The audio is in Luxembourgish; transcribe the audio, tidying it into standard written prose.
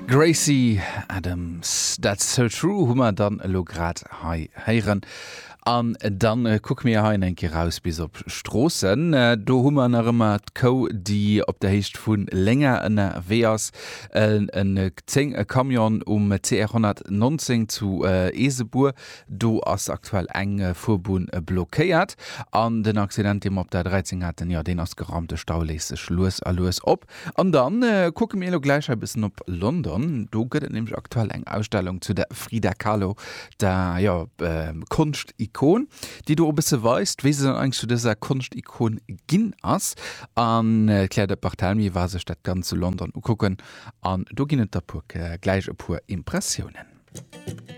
Gracie Adams, That's So True hu mer dann elo grad hei héieren. An dann kucke mir hei eng Kéier raus bis op Stroossen. Do hu mer nach ëmmer d'Kou, déi op der Héicht vu Lénger ënnerwee ass. En 10 e Camion um CR 119 zu Eesebuer. Do ass aktuell eng Fuerbunn blockéiert. An den Accident, dee mer op der 13 haten, jo, deen ass geraumt. De Stau léist sech lues a lues op. An dann kucke mir elo gläich hei e bëssen op London. Do gëtt et nämlech aktuell eng Ausstellung zu der Frida Kahlo, der, jo, Konschtikon, déi do e bësse weist, wéi se dann eigentlech zu dëser Konschtikon ginn ass. An d'Claire de Barthelmy war sech dat Ganzt zu London ukucken an do ginn et da puer gläich e puer Impressiounen.